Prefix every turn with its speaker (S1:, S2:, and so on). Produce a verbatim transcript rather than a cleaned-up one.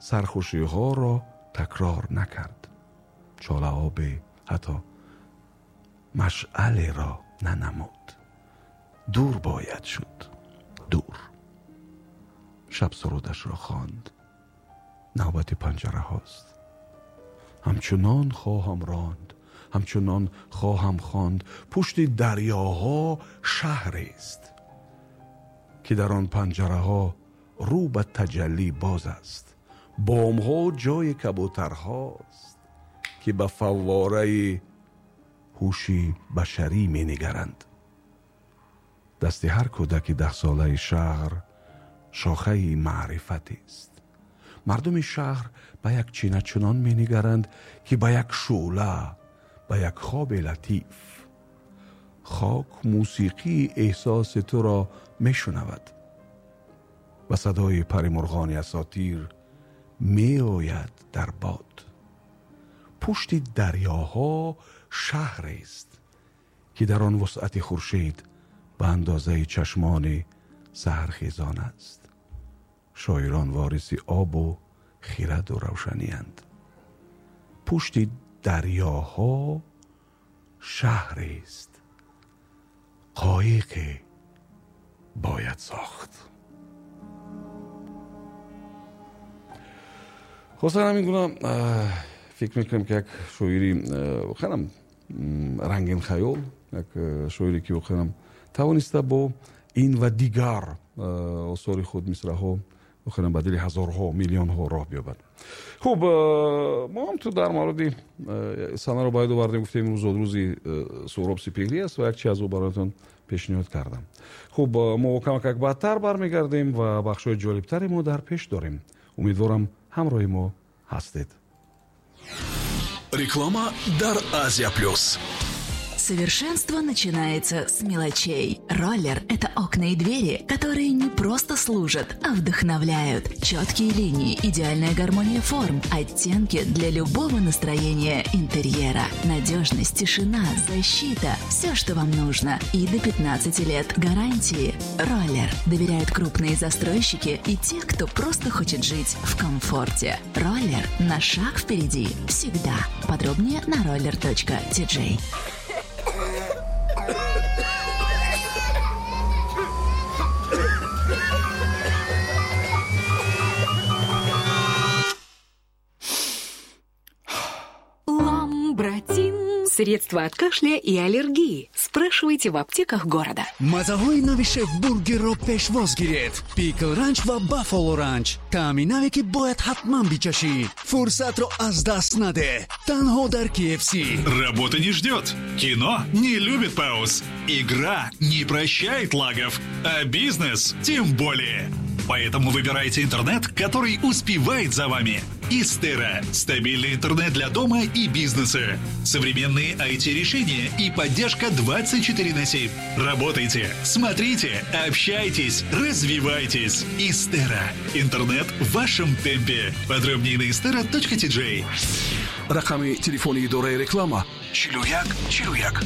S1: сархушиҳоро такрор накард. Чолаобе ҳатто машъалеро нанамуд. Дур бояд шуд, дур. Шаб сурудашро хонд. Навбати панҷараҳост. Ҳамчунон хоҳам ронд, ҳамчунон хоҳам хонд. Пушти дарёҳо шаҳрест, ки дар он панҷараҳо рӯ ба таҷаллӣ боз аст. Бомҳо ҷои кабутарҳост, ки ба фаввораи ҳуши башарӣ менигаранд. Дасти ҳар кӯдаки даҳсолаи шаҳр шохаи маърифатест. Мардуми шаҳр ба як чина чунон менигаранд, ки ба як шӯъла, ба як хоби латиф. Хок мусиқии эҳсоси туро мешунавад. Ба садои паримурғони асотир меояд дар бод. Пушти дарёҳо шаҳрест, ки дар он вусъати хуршед ба андозаи чашмони саҳархезон аст. Шоирон вориси обу хираду равшаниянд. Пушти дарёҳо шаҳрест, қоиқе бояд сохт. Хусусан ҳамин гуна фикр мекунем, ки як шоири воқеан рангин хаёл, як шоире ки воқеан тавониста бо ин ва дигар осори худ мисраҳо воқеан ба дили ҳазорҳо, миллионҳо роҳ биёбад. Хуб, мо ҳам ту дар мавриди санаро бояд овардем, гуфтем имрӯз зодрӯзи Суҳроб Сипеҳрӣ аст ва як чи аз ӯ бароятон пешниҳод кардам. Хуб, мо камакак баъдтар бармегардем ва бахшҳои ҷолибтаре мо дар пеш дорем. Умедворам, ҳамроҳи мо ҳастед.
S2: Реклама дар Азия Плюс.
S3: Совершенство начинается с мелочей. Роллер – это окна и двери, которые не просто служат, а вдохновляют. Четкие линии, идеальная гармония форм, оттенки для любого настроения интерьера. Надежность, тишина, защита – все, что вам нужно. И до пятнадцати лет гарантии. Роллер доверяют крупные застройщики и те, кто просто хочет жить в комфорте. Роллер на шаг впереди всегда. Подробнее на roller точка ти джей.
S4: Ламбратин. Средства от кашля и аллергии. Спрашивайте в аптеках города.
S5: Мазаҳои нави шеф-бургерро пешвоз гиред. Пикл ранч ва баффало ранч. Таъми наве, ки бояд ҳатман бичашӣ. Фурсатро аз даст наде. Танҳо дар K F C.
S2: Работа не ждет. Кино не любит пауз. Игра не прощает лагов. А бизнес тем более. Поэтому выбирайте интернет, который успевает за вами. Истера – стабильный интернет для дома и бизнеса. Современные ай ти-решения и поддержка двадцать четыре на семь. Работайте, смотрите, общайтесь, развивайтесь. Истера – интернет в вашем темпе. Подробнее на истера точка ти джей.
S1: Рақами телефони идораи реклама чилу як чилу як.